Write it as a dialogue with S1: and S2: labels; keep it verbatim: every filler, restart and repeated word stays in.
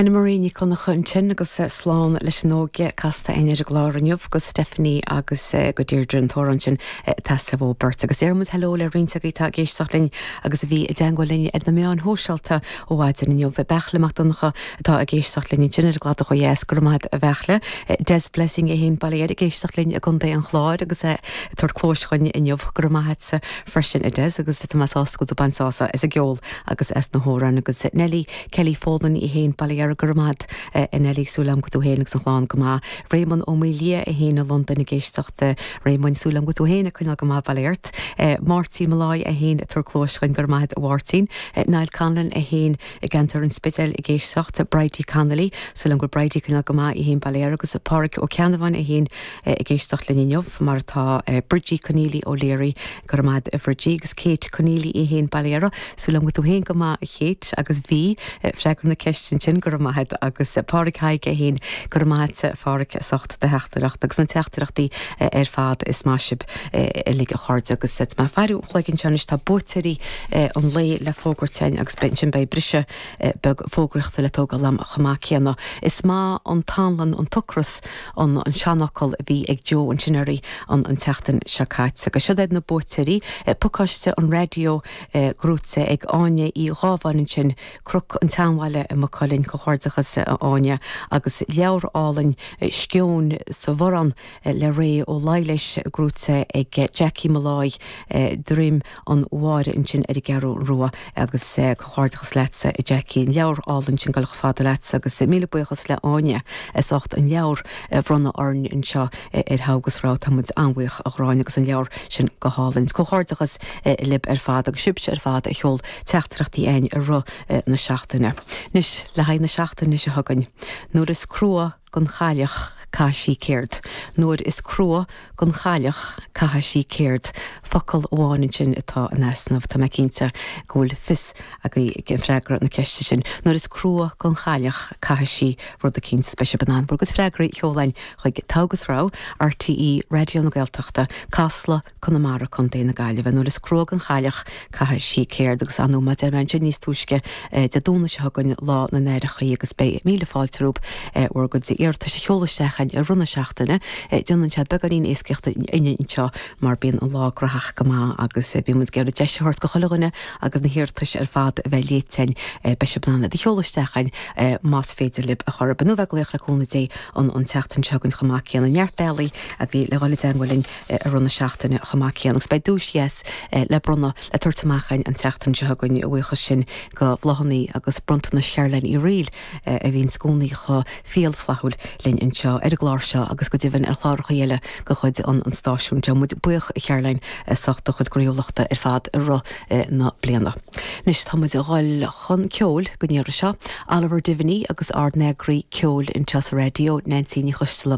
S1: Anna Marie Ní Chonchúir ansin agus slán leis an óige casta ar an gclár inniu go Stephanie agus go Deirdre an t-amhrán sin tasa ó beirt agus déarfaidh muid hello le roinnt agaibh atá ag éisteacht linn agus a bhí i dteagmháil linn ar na meáin shóisialta ó mhaidin inniu Beairtle Mac Donncha atá ag éisteacht linn sin ar gladach ó dheas go raibh maith agat a Bheairtle Des Blessing é féin baile ag éisteacht linn i gContae an Chláir agus é tabhairt cluas dúinn inniu go raibh maith agat freisin a Des agus tá mé sásta go bain sásamh as an gceol agus as na hamhráin agus Nelly Kelly Folan í féin baile ar go raibh maith agat Nelly súil agam go tú féin agus an chlann go maith Raymond Ó Mília é féin i Londain ag éisteacht Raymond súil agam go tú féin ag coinneáil go maith baile ort Máirtín Molloy é féin ag tabhairt cluas dúinn go raibh maith agat a Mháirtín Niall Conlon é féin i gceantar an Spidéil ag éisteacht Bridie Connolly súil agam go Bridie coinneáil go maith í féin baile agus Pádraig Ó Ceannabháin é féin ag éisteacht linn inniu mar atá Bridgie Conneely O'Leary go raibh maith agat a Bhridgie agus Kate Conneely í féin baile súil agam go tú féin go maith a Kate agus bhí freagra na ceiste sin go raibh maith agat agus Pádraig Haig é féin go raibh maith agat Phádraig as ucht do theachtaireacht agus na teachtaireachtaí ar fad is maith sibh uilig a chairde agus má fearú chluigeann seis tá buaiteoirí an lae le fógairt agus beidh sin beidh briseadh beag fógraíochta le tógáil am chomh maith céanna. Is maith an t-anlann an t-ocras an an seanfhocal a bhí ag Joe an sineirí an an tseachtain seo caite agus seo iad na buaiteoirí pacáiste an raidió gnóite ag Áine Uí Ghábháin sin Cnoc an tSeanbhaile i Maigh Cuilinn comhghairdeachas Áine agus leabhar álainn Sceon sa Bhorrán le Ré Ó Laighléis gnóite ag Jackie Molloy Droim an Mháire ansin ar an gCeathrú Rua agus comhghairdeachas leatsa Jackie an leabhar álainn sin go fada leat agus míle buíochas le Áine as ucht an leabhar a bhronnadh orainn anseo ar Thogh agus Rogha tá muid an-bhuíoch a Ghráinne agus an leabhar sin go hálainn. Comhghairdeachas libh ar fad agus sibhse ar fad a sheol teachtaireachtaí chugainn i rith na seachtaine. Anois le haghaidh na seachtaine seo chugainn. Nuair is crua don chailleach caithfidh sí ceird. Nuair is crua don chailleach caithfidh sí ceird. Focal amháin sin atá in easnamh tá mé cinnte go bhfuil fios agaibh an freagra na ceiste sin. Nuair is crua don chailleach caithfidh sí rud éicint speisialta an agus freagraí a sheoladh chuig Togh agus Rogha RTÉ Raidió na Gaeltachta, Casla Conamara Contae na Gaillimhe nuair is crua don chailleach caithfidh sí ceird agus anú má deir sin níos túisce Dé Domhnaigh seo chugainn lá na n-aithreacha agus beidh míle fáilte romhaibh bhur gcuid iarratais a sheoladh isteach i rith na seachtaine déanann sé beagáinín éascaíochta anseo mar bíonn an lá gnóthach go maith agus bíonn muid ag iarraidh deis a thabhairt do chuile dhuine agus na hiarratais ar fad a bheith léite beidh sibh in ann iad a sheoladh isteach más féidir libh a chur nó bheith ag glaoch le cúnamh Dé an an tseachtain seo chugainn chomh maith céanna neart bealaí agaibh le dhul i dteagmháil linn i rith na seachtaine chomh maith céanna agus beidh duais dheas le bronnadh le tabhairt amach an tseachtain seo chugainn a bhuíochas sin do bhláthanna agus bronntanais Chearlainn Uí Riail a bhíonn i gcónaí chomh fial flaithiúil linn anseo ar an gclár seo agus go deimhin ar chláracha eile de chuid an an stáisiún Tá muid buíoch Chearlainn as ucht do chuid croíúlachta ar fad i rith na bliana. Anois tá muid ag dul chun ceoil go ndéara seo, Oliver Diviney agus ár n-eagraí ceoil anseo sa raidió Nancy Ní Choisteala